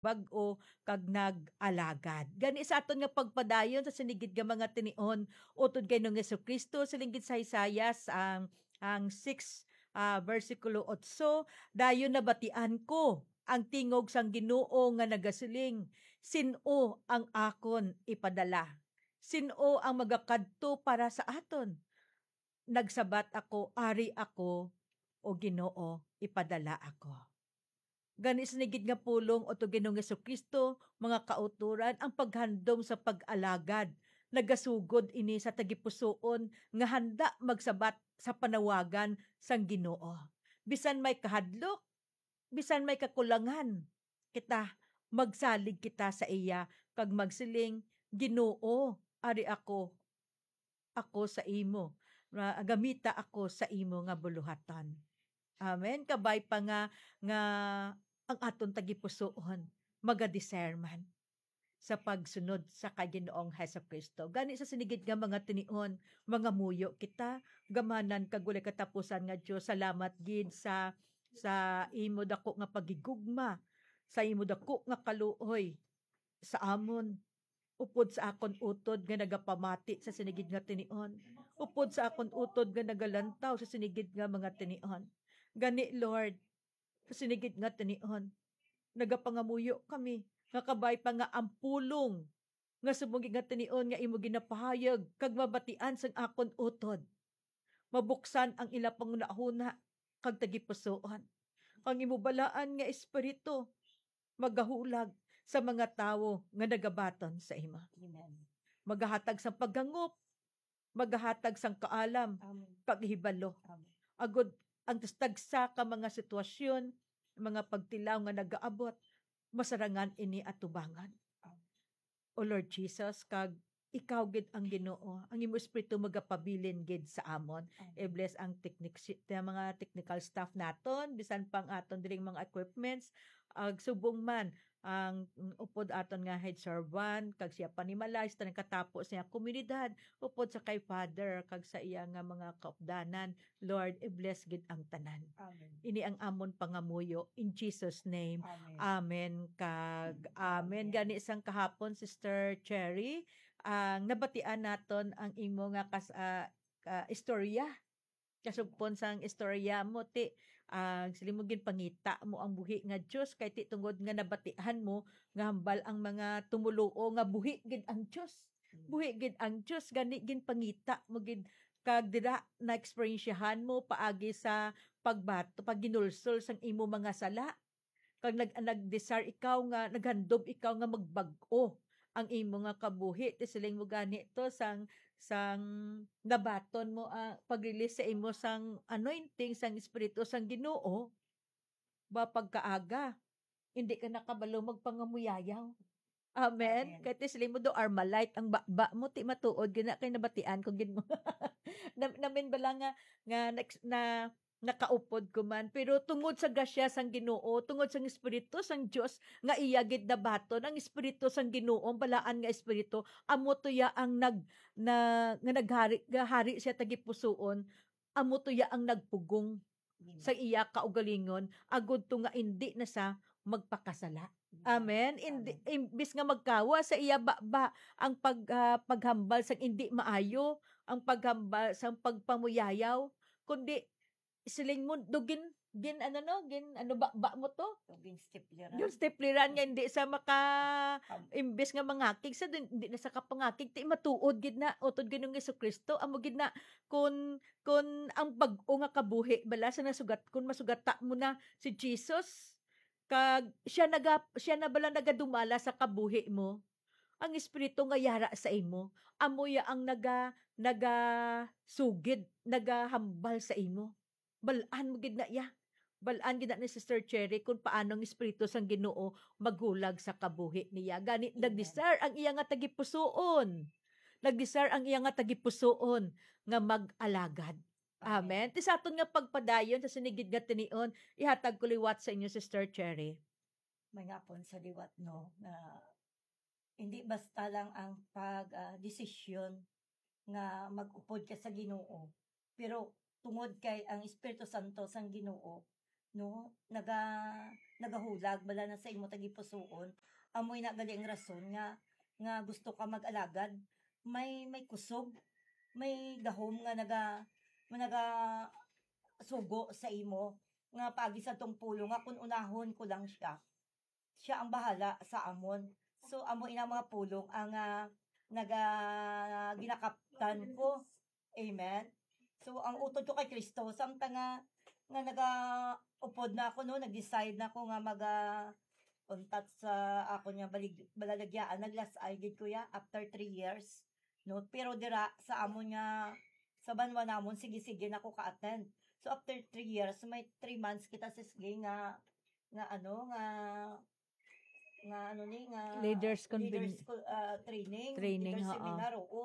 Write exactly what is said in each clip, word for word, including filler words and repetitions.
bag-o kag nag-alagad. Gani sa aton nga pagpadayon sa sinigid nga mga tinion, utod kay Ginoong Jesu-Cristo, siling gid sa Isaias ang, ang six, ah, bersikulo otso, "Dayon nabatian ko ang tingog sang Ginoo nga nagasiling, 'Sin-o ang akon ipadala? Sin-o ang magakadto para sa aton?' Nagsabat ako, 'Ari ako, O Ginoo, ipadala ako.'" Gani, sinigid nga pulong utod kay Ginoong Jesu-Cristo, mga kautoran, ang paghandom sa pag-alagad. Nagasugod ini sa tagipusoon nga handa magsabat sa panawagan sang Ginoo. Bisan may kahadlok, bisan may kakulangan kita, magsalig kita sa iya kag magsiling, "Ginoo, ari ako, ako sa imo. Ma-, gamita ako sa imo nga buluhaton." Amen. Kabay pa nga, nga ang aton tagipusoon magadiscernment sa pagsunod sa kay Ginoong Jesu-Cristo. Gani sa sinigid nga mga tinion, mangamuyo kita, gamhanan kag walay katapusan nga Dios, salamat gid sa, sa imo dako nga paghigugma, sa imo dako nga kaluoy sa amon, upod sa akon utod nga nagapamati sa sinigid nga tinion, upod sa akon utod nga nagalantaw sa sinigid nga mga tinion. Gani, Lord, sa sinigid nga tinion, nagapangamuyo kami nga kabay pa nga ang pulong nga subong nga tinion nga imo ginapahayag kag mabatian sang akon utod, mabuksan ang ila panghunahuna kag tagipusoon, kag imo balaan nga Espiritu magahulag sa mga tawo nga nagabaton sa imo. Amen. Magahatag sang paghangop, magahatag sang kaalam, Amen. Kag hibalo. Amen. Agod ang tagsa ka mga sitwasyon, mga pagtilaw nga nagaabot, masarangan ini atubangan. Amen. O Lord Jesus, kag ikaw gid ang Ginoo, ang imo Espiritu magapabilin gid sa amon. Amen. I-bless ang technic-, ang mga technical staff naton, bisan pa ang aton diring mga equipments, ag subong man ang, mm, upod aton nga head servant, kag siya panimalay sa tanang katapo sa iyang komunidad, upod sa kay Father, kag sa iya nga mga kaupdanan. Lord, i-bless gid ang tanan. Amen. Ini ang amon pangamuyo. In Jesus' name, Amen. Amen kag amen. Amen. Gani sang kahapon, Sister Cherry, ang nabatian naton ang imo nga kas-, ah, ah, istorya. Kasugpon sang istorya mo, ti, ah, siling mo ginpangita mo ang buhi nga Dios, kay ti tungod nga nabatian mo nga hambal ang mga tumoluo nga buhi gid ang Dios. Mm. Buhi gid ang Dios, gani ginpangita mo gid, kag dira naeksperyensyahan mo paagi sa pagbato, pagginulsol sang imo mga sala. Kag nag-, nag-desire ikaw nga, naghandom ikaw nga magbag-o ang imo nga kabuhi. Ti siling mo gani to, sang, sang nabaton mo, ah, pag-release sa imo sang anointing sang Espiritu sang Ginoo, ba pagkaaga, hindi ka na kabalo magpangamuyayaw. Amen. Amen. Kay ti siling mo do, Armalite ang baba mo, ti matuod gid na kay nabatian ko gid mo. Na, namin bala nga, nga next na nakaupod ko man, pero tungod sa grasya sang Ginoo, tungod sang Espiritu sang Dios nga iya gid nabaton, ang Espiritu sang Ginoo, ang balaan nga Espiritu, amo to ya ang nag-, na, nga naghari, nga hari siya tagipusoon, amo to ya ang nagpugong Amen. Sa iya kaugalingon, agud to nga indi na sa magpakasala. Amen. Amen. Indi, Amen. Imbis nga magkawa sa iya baba ang pag-, ah, paghambal sang indi maayo, ang paghambal sang pagpamuyayaw, kundi siling mo, do gin-, gin-, ano, no, gin-, ano, ba, ba mo to? Yung ginstipliran. Yung stipliran nga hindi sa maka-, Am- imbis nga mangakig sa, din-, hindi na sa kapangakig, ti matuod gid na, utod Ginoong Jesucristo, amo gid na, kun, kun ang bag-o nga kabuhi bala sa nasugat, kun masugata mo na si Jesus, kag siya naga-, siya na bala nagadumala sa kabuhi mo, ang Espiritu nga yara sa imo, amo ya ang naga-, nagasugid, nagahambal sa imo. Bal-an mo gid na iya. Bal-an gid na ni Sister Cherry kung paano ang Espiritu sang Ginoo maghulag sa kabuhi niya. Gani, Amen. Nag-desire ang iya nga tagipusoon. Nag-desire ang iya nga tagipusoon nga mag-alagad. Amen. Amen. Ti sa aton nga pagpadayon sa sinigid nga tinion, ihatag ko liwat sa inyo, Sister Cherry. May nga pon sa liwat, no, nga hindi basta lang ang pag, ah, desisyon nga mag-upod ka sa Ginoo, pero tungod kay ang Espiritu Santo sang Ginoo no, naga-, nagahulag bala na sa imo tagipusoon. Amoy na gali ang rason nga, nga gusto ka mag-alagad. May, may kusog, may gahom nga naga-, nga nagasugo sa imo, nga paagi sa tong pulong nga kun unahon ko lang siya, siya ang bahala sa amon. So, amo ina mga pulong ang, ah, naga-, ginakaptan ko. Amen. So, ang utod ko kay Kristo, samtang nga, nga naga-upod na ako, no, nag-decide na ako nga maga-, untat sa ako nga balig-, balalagyaan, naglasay gid ko ya after three years, no? Pero dira sa amon nga, sa banwa namon, sige-sige na ako ka-attend. So, after three years, may three months kita, sis, gay nga, nga ano, nga, nga ano ni, nga Leaders conven- leaders co-, ah, training, Training, leaders oo. seminar, oo.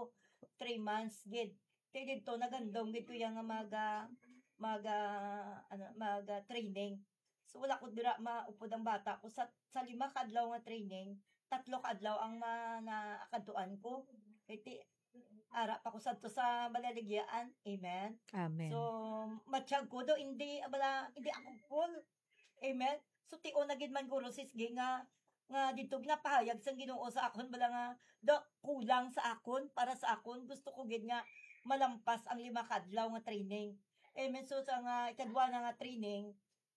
Three months gid. Kay didto, nagandong gid ko ya nga mag, ah, mag, ah, ano, mag, ah, training. So, wala ko dira maupod ang bata ko. Sa, sa lima ka adlaw nga training, tatlo ka adlaw ang ma-, naakadtuan ko. Kay ti-, ara pa ko sadto sa balaligyaan. Amen. Amen. So, matiyag ko do, hindi, bala, hindi ako full. Amen. So, tion na gid man guro, sis Gay, nga, nga dito ginapahayag sang Ginoo sa akon, bala nga, do, kulang sa akon, para sa akon, gusto ko gid nga malampas ang lima ka adlaw nga training. Amen. So, sa nga ikadwa na nga training,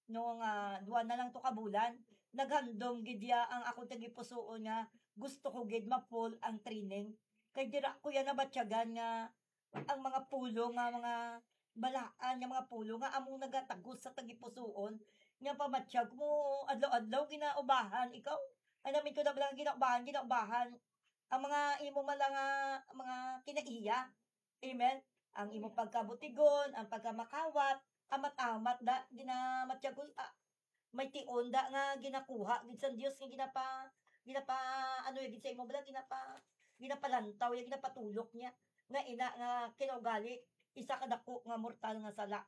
no, nga duha na lang to ka bulan, naghandom gid ya ang akong tagipusoon nga gusto ko gid ma-full ang training. Kay dira ko ya nabatyagan nga ang mga pulong nga mga balaan nga mga pulong nga among nagatagos sa tagipusoon nga pamatyag mo adlaw-adlaw ginaubahan ikaw. Ay namin ko na bala nga ginaubahan, ginaubahan ang mga imo mala nga mga kinaiya. Amen. Ang imo pagkabutigon, ang pagkamakawat, amat-amat da, ginamatyagul-, ah, may tion da nga ginakuha gid sang Dios nga ginapa-, ginapa-, ano, gid sa imo bala, ginapa-, ginapalantaw, ya, ginapatulok niya. Nga ina nga kinaugali, isa ka dako nga mortal nga sala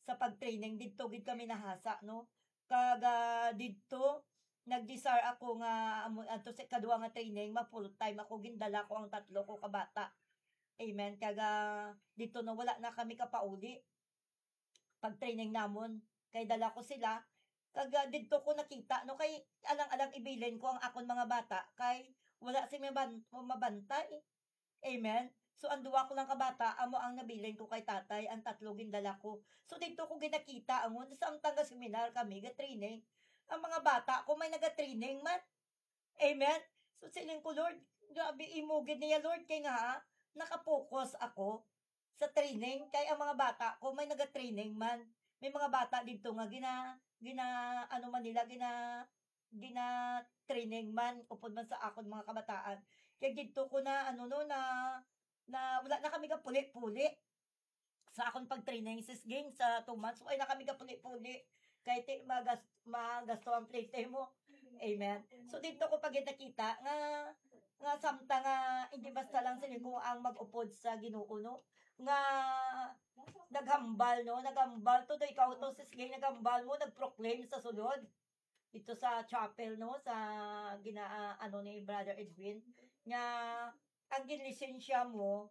sa pag-training, didto gid kami nahasa, no? Kag, ah, didto, nag-desire ako nga amo, adto sa ikadua nga training, ma-full time ako, gindala ko ang tatlo ko ka bata. Amen. Kag, ah, didto, no, wala na kami kapauli pag-training namon. Kay dala ko sila. Kag, ah, didto ko nakita, no, kay alang-alang ibilin ko ang akon mga bata, kay wala sila maban-, mabantay. Amen. So, ang duwa ko lang ka bata, amo ang nabilin ko kay tatay, ang tatlo gindala ko. So, didto ko ginakita, ang samtang ga-seminar kami, ga-training, ang mga bata ko may naga-training man. Amen. So, siling ko, "Lord, grabe, imo gid niya, Lord, kay nga, nakapokus ako sa training, kay ang mga bata ko may naga-training man." May mga bata didto nga gina-, gina-, ano man nila, gina-, gina-training man, upod man sa akon mga kabataan. Kay didto ko na, ano, no, na, na wala na kami kapuli-puli sa akon pag-training, sis Ging, sa two months. Wala na kami kapuli-puli. Kay ti-, magas-, magasto ang plate mo. Amen. So, didto ko pa gid nakita nga, nga samtang nga, hindi basta lang sila ko ang mag-upod sa Ginoo, no? Nga naghambal, no? Naghambal to, ikaw to, sis Ging, naghambal mo, nag-proclaim sa sulod. Dito sa chapel, no? Sa gina-, ah, ano ni Brother Edwin, nga ang ginlisensya mo,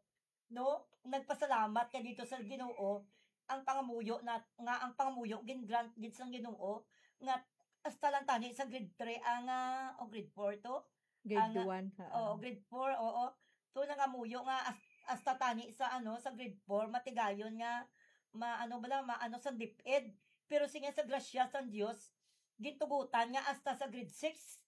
no? Nagpasalamat ka dito sa Ginoo, ang pangamuyo na, nga ang pangamuyo gin-grant gid sang Ginoo, nga hasta lang tani sa grade three ang, ah, o grade four to? Grade Ang, one, ha. Oo, grade four, oo. So, nangamuyo nga as-, hasta tani sa, ano, sa grade four, matigayon nga, ma-, ano bala, ma-, ano, sa DepEd. Pero siya sa grasya sang Dios, gintugutan nga hasta sa grade six.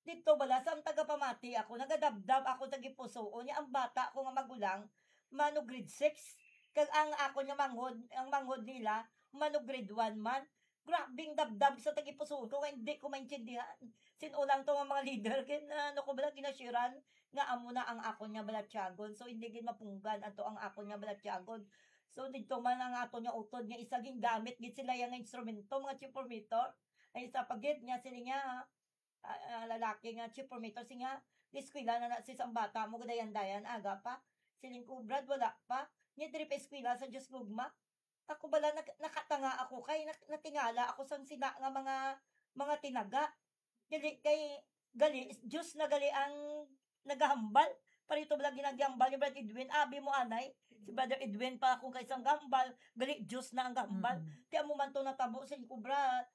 Dito bala, sa ang tagapamati ako, nagadabdab ako sa gipusoon niya ang bata ko nga magulang, mano grade six. Kag ang ako nga manghod, ang manghod nila, mano grade one man. Grabing dabdab sa tagipusoon ko nga hindi ko maintindihan. Sin-o lang to nga mga leader, kay na, ano ko bala, ginashiran nga amo na ang akon nga balatyagon. So, hindi gid mapunggan ato ang akon nga balatyagon. So, dito man ang aton nga utod nga isa, gingamit gid sila yang instrumento, mga chipometer. Ay, isa pa gid nga sila nga, ah, ah, lalaki nga chipometer, siya nga, "Eskwela na na sis ang bata mo, gadayan-dayan, aga pa." Siling ko, "Brad, wala pa. Nya diri pa eskwela sa Dios gugma." Ako bala, nak-, nakatanga ako kay nak-, natingala ako sang sina nga mga, mga tinaga. Gali kay, gali, Dios na gali ang nagahambal. Pareho to bala ginagambal ni Brad Edwin. Abi mo, anay, si Brother Edwin pa akong kaisang gambal, gali Diyos na ang gambal. Mm. Ti amo man to natabo sa inyo, Brad.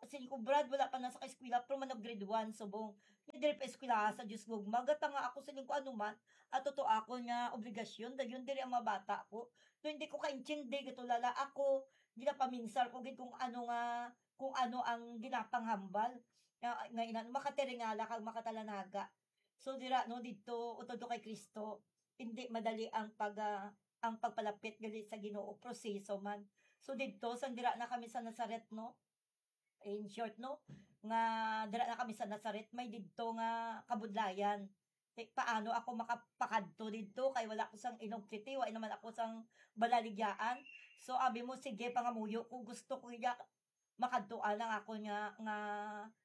Sa inyo, Brad, wala pa na sa eskwela, pero man grade one, subong. Ni diri pa eskwela sa Diyos gugma. Gata nga ako sa inyo, kung ano man, ato to ako nga obligasyon, dayon diri ang mga bata ko. No, hindi ko kaintindi, gatulala ako, ginapaminsar ko gid kung ano nga, kung ano ang ginapanghambal. Nga, nga ina-, makatiringala kag makatalanaga. So, dira, no, didto, utod to kay Cristo, hindi madali ang pag, ah, ang pagpalapit gali sa Ginoo, proseso man. So, didto, sang dira na kami sa Nazaret, no? In short, no, nga dira na kami sa Nazaret, may didto nga kabudlayan. Ti, paano ako makapakadto didto? Kay wala ko sang inugtiti, wala naman ako sang balaligyaan. So, abi mo, sige, pangamuyo ko, gusto ko iya makadtuan ang ako nga, nga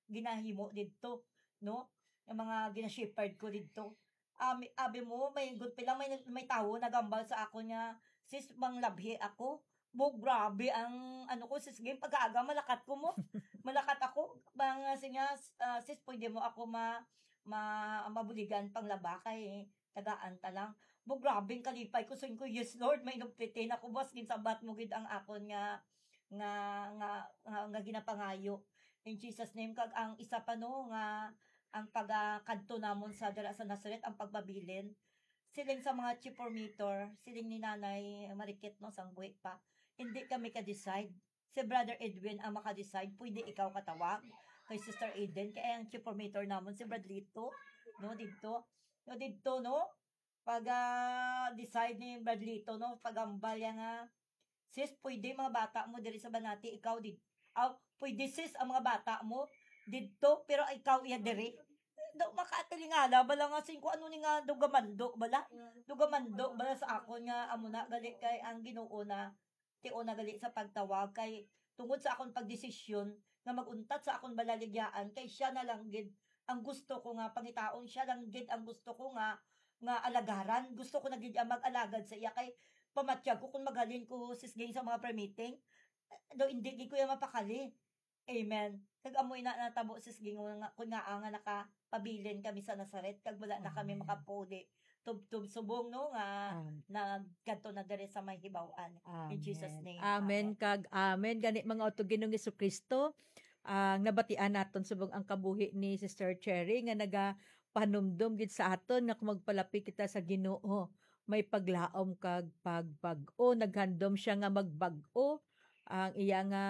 ginahimo didto, no? Ang mga gina-shepherd ko didto. Abi, abi mo, may good pila, may, may tawo nagambal sa ako nga, "Sis, manglabhi ako." Bo, grabe ang ano ko, sis, game, pag-aaga, malakat ko mo. Malakat ako. Mga sinya, ah, "Sis, pwede mo ako ma-, ma-, mabuligan panglaba kay tagaan ta lang." Bo, grabe ang kalipay ko. Sabi ko, "Yes, Lord, may inugpiti na ko, boss. Ginsabat mo gid ang akon nga, nga, nga, nga, nga ginapangayo." In Jesus' name, kag ang isa pa, no, nga ang pagkadto namon sa dira sa Nazaret, ang pagpabilin. Siling sa mga chipormator, siling ni Nanay Marikit, no, sang buhi pa, hindi kami ka-decide. Si Brother Edwin ang maka-decide. Pwede ikaw katawag kay Sister Eden, kay ang chipormator namon si Brad Lito, no, didto. No, didto, no? Pag, ah, decide ni Brad Lito, no, pagambal niya nga, "Sis, pwede mga bata mo diri sa Banati, ikaw di, aw, pwede sis ang mga bata mo didto, pero ikaw iya diri." Daw makatilingala bala nga, sin ko ano ni nga dugamando bala. Dugamando bala sa akon nga amo na gali kay ang Ginoo na ti una gali sa pagtawag kay tungod sa akon pagdesisyon nga mag-untat sa akon balaligyaan, kay siya na lang gid ang gusto ko nga pangitaon, siya lang gid ang gusto ko nga, nga alagaran. Gusto ko na gid ang mag-alagad sa iya, kay pamatyag ko kung maghalin ko, sis, gay sa mga prayer meeting, daw hindi gid ko iya mapakali. Amen. Kag amo ina natabo, sis, gingon nga, kun nga, ah, nga nakapabilin kami sa Nazaret, kag wala na kami Amen. makapuli. Tubtob subong, no, nga Amen. nagkadto na diri sa may hibaw-an. In Jesus' Amen. name. Amen. Amen. Kag amen. Gani, mga utod Ginoong Jesu-Cristo, ang nabatian naton subong ang kabuhi ni Sister Cherry nga nagapanumdom gid sa aton nga kung magpalapit kita sa Ginoo, may paglaom kag pagbag-o. Naghandom siya nga magbag-o ang iya nga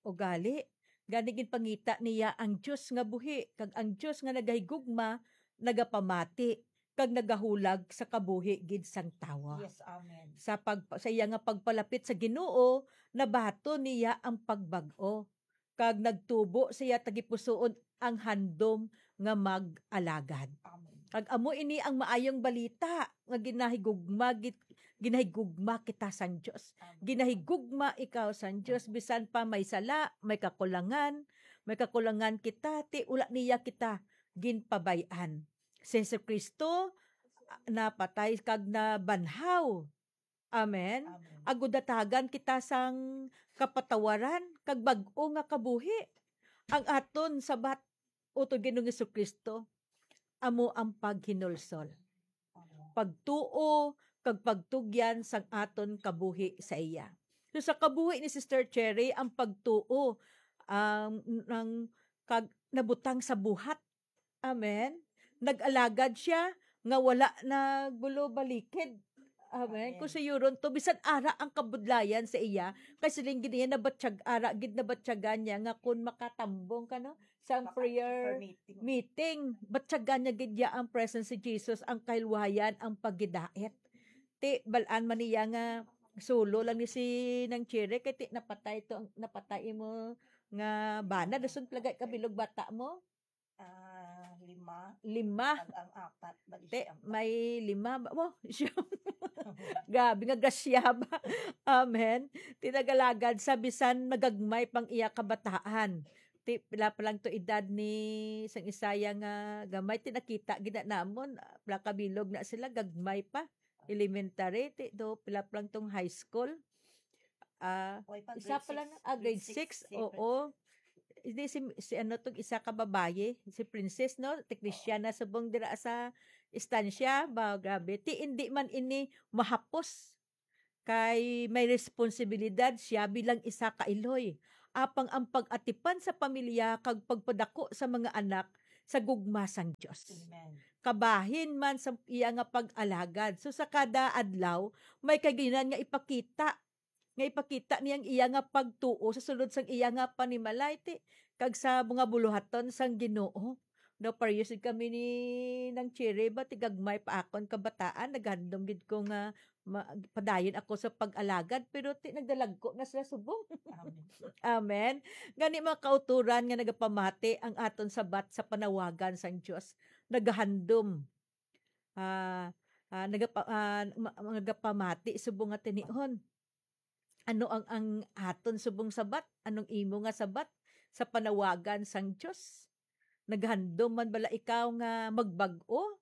ugali. Gani ginpangita niya ang Dios nga buhi, kag ang Dios nga nagahigugma, nagapamati, kag nagahulag sa kabuhi gid sang tawo. Yes, amen. Sa pag-, sa iya nga pagpalapit sa Ginoo, nabaton niya ang pagbag-o, kag nagtubo sa iya tagipusoon ang handom nga mag-alagad. Amen. Kag amo ini ang maayong balita nga ginahigugma git-, ginahigugma kita sang Dios. Amen. Ginahigugma ikaw sang Dios, bisan pa may sala, may kakulangan, may kakulangan kita, ti wala niya kita ginpabay-an. Si Jesu-Cristo, ah, napatay kag nabanhaw. Amen. Amen. Agud datagan kita sang kapatawaran kag bag-o nga kabuhi. Ang aton sabat, utod Ginoong Jesu-Cristo, amo ang paghinulsol, Amen. pagtuo, kag pagtugyan sang aton kabuhi sa iya. So, sa kabuhi ni Sister Cherry, ang pagtuo, ang, ang kag nabutang sa buhat. Amen. Nag-alagad siya nga wala nagbulo balikid. Amen. Amen. Kung sayuron to, bisan ara ang kabudlayan sa iya, kay siling gid niya, nabatyag, ara gid nabatyagan niya nga kung makatambong ka, no, sa Maka-, prayer prayer meeting. meeting, batyagan niya gid niya ang presence si Jesus, ang kahilwayan, ang paghidait. Ti, bal-an man niya nga sulo lang ni si Nang Cherry, kay ti, napatay to, napatay imo nga bana, dason pila gani ka bilog bata mo? Ah, lima. Lima. Pag ang apat, bali Te, siyam. May lima ba? Wow, siyam. Grabe nga grasya ba? Amen. Ti nag-alagad sa bisan nagagmay pang iya kabataan. Ti pila pa lang to edad ni sang Isaya nga gamay, ti nakita gid na namon, pila ka bilog na sila, gagmay pa. Elementary, ti do pila pa lang tong high school. Ah, Way pa, isa grade pa lang, six, ah, grade grade six, six, six. oo. hindi si, si ano tong isa ka babayi, si Princess, no? Ti Kristiana subong dira sa estansya. Ba, grabe. Ti, hindi man ini mahapos. Kay may responsibilidad siya bilang isa ka iloy. Apang ang pag-atipan sa pamilya kag pagpadako sa mga anak sa gugma sang Dios. Amen. Kabahin man sa iya nga pag-alagad. So, sa kada adlaw, may kaginan nga ipakita, nga ipakita niya ang iya nga pagtuo sa sulod sang iya nga panimalay, ti, kag sa mga buluhaton sang Ginoo. No, pareho gid kami ni Nang Cherry, ba, ti gagmay pa akon kabataan, naghandom gid ko nga ma-, padayon ako sa pag-alagad, pero ti, nagdalagko na sila subong. Amen. Amen. Gani, mga kauturan nga nagapamati ang aton sabat sa panawagan sang Dios, nagahandom. Ah, ah, nagapa-, ah, ma-, nagapamati subong nga tinion. Ano ang, ang aton subong sabat? Anong imo nga sabat sa panawagan sang Dios? Naghandom man bala ikaw nga magbag-o?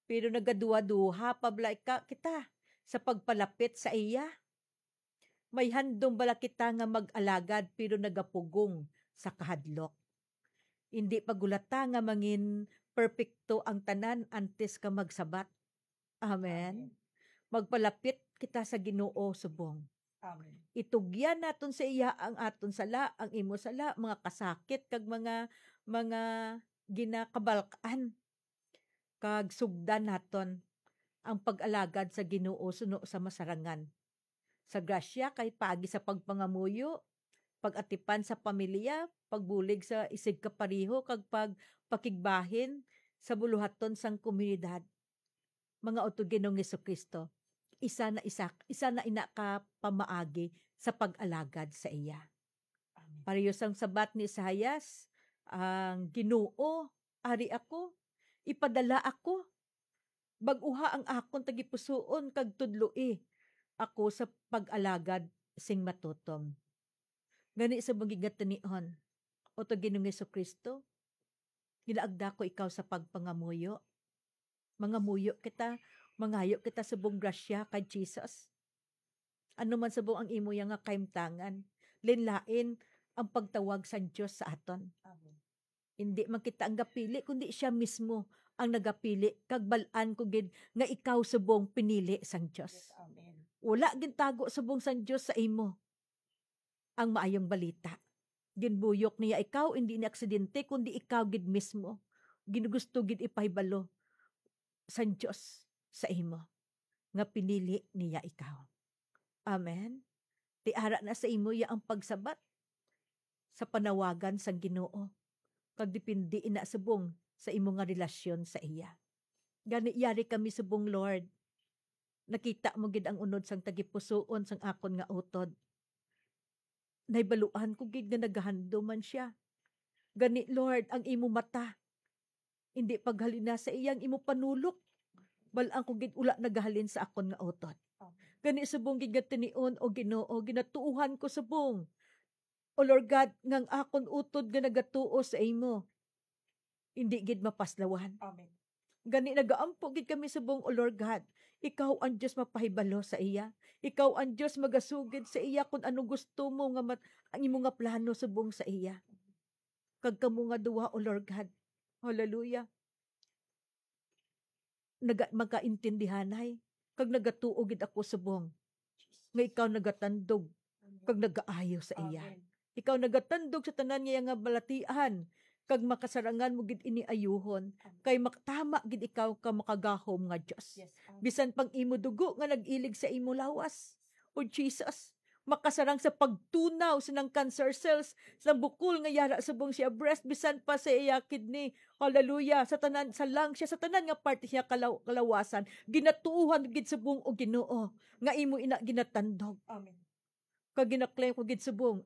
Pero nagaduha-duha pa bala ika-, kita sa pagpalapit sa iya? May handom bala kita nga mag-alagad pero nagapugong sa kahadlok? Indi pagulata nga mangin perpekto ang tanan antes ka magsabat. Amen. Amen. Magpalapit kita sa Ginoo subong. Amen. Itugyan naton sa iya ang aton sala, ang imo sala, mga kasakit, kag mga, mga ginakabalak-an. Kag sugdan naton ang pag-alagad sa Ginoo suno sa masarangan. Sa grasya kay paagi sa pagpangamuyo, pag-atipan sa pamilya, pagbulig sa isigkapareho, kag pagpakigbahin sa buluhaton sang komunidad. Mga utod Ginoong Jesu-Cristo, isa na isa, isa na ina ka pamaagi sa pag-alagad sa iya. Amen. Pareho sang sabat ni Isaias, ang Ginoo, ari ako, ipadala ako, bag-uha ang akon tagipusoon kag tudloi ako sa pag-alagad sing matutom. Gani sa mga gigatinion, o to Ginoong Jesu-Cristo, ginaagda ko ikaw sa pagpangamuyo. Mangamuyo kita, mangayo kita subong grasya kay Jesus. Ano man subong ang imo ya nga kahimtangan, linlain ang pagtawag sang Dios sa aton. Amen. Hindi man kita ang gapili, kundi siya mismo ang nagapili, kag bal-an ko gid nga ikaw subong pinili sang Dios. Yes, amen. Wala gintago subong sang Dios sa imo ang maayong balita. Ginbuyok niya ikaw, hindi ni aksidente, kundi ikaw gid mismo. Ginugusto gid ipahibalo sang Dios sa imo nga pinili niya ikaw. Amen. Ti ara na sa imo ya ang pagsabat sa panawagan sang Ginoo, kag depende ina subong sa imo nga relasyon sa iya. Gani, yari kami subong, Lord. Nakita mo gid ang unod sang tagipusoon sang akon nga utod. Nahibaluan ko gid nga nagahandom man sia. Gani, Lord, ang imo mata indi paghalina sa iya, ang imo panulok bal-an ko gid wala nagahalin sa akon nga utod. Amen. Gani, subong gid nga tinion, O Ginoo, ginatuohan ko subong, O Lord God, nga ang akon utod nga nagatuo sa imo indi gid mapaslawan. Amen. Gani, nagaampo gid kami subong, O Lord God, ikaw ang Dios mapahibalo sa iya. Ikaw ang Dios magasugid sa iya kung ano gusto mo nga mat-, ang imo nga plano subong sa iya. Kag kamo nga duha, O Lord God, hallelujah, naga-, magkaintindihanay, kag nagatuo gid ako subong nga ikaw nagatandog kag nagaayo sa iya. Amen. Ikaw nagatandog sa tanan nga iya nga balatian, kag makasarangan mo gid ini ayuhon, Amen. Kay mak-, tama gid ikaw ka makagahom nga Dios. Yes, Amen. Bisan pang imo dugo nga nag-ilig sa imo lawas, O Jesus, makasarang sa pagtunaw sa nang cancer cells, sa bukol nga yara subong siya breast, bisan pa sa iya kidney. Hallelujah. Sa tanan, sa lung siya, sa tanan nga parte siya kalaw-, kalawasan. Ginatuohan gid subong, O Ginoo, nga imo ina ginatandog. Amen. Kag ginaklaim ko gid subong,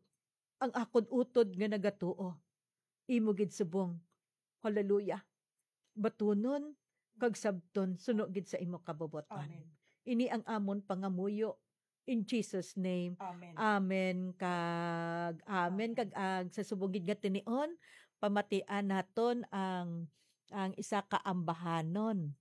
ang akon utod nga nagatuo, imo gid subong. Hallelujah. Batunon kag sabton suno gid sa imo kabubuton. Amen. Ini ang amon pangamuyo. In Jesus' name. Amen. Amen kag amen. Amen. Kag ag sa subong gid nga tinion, pamatian naton ang, ang isa ka ambahanon.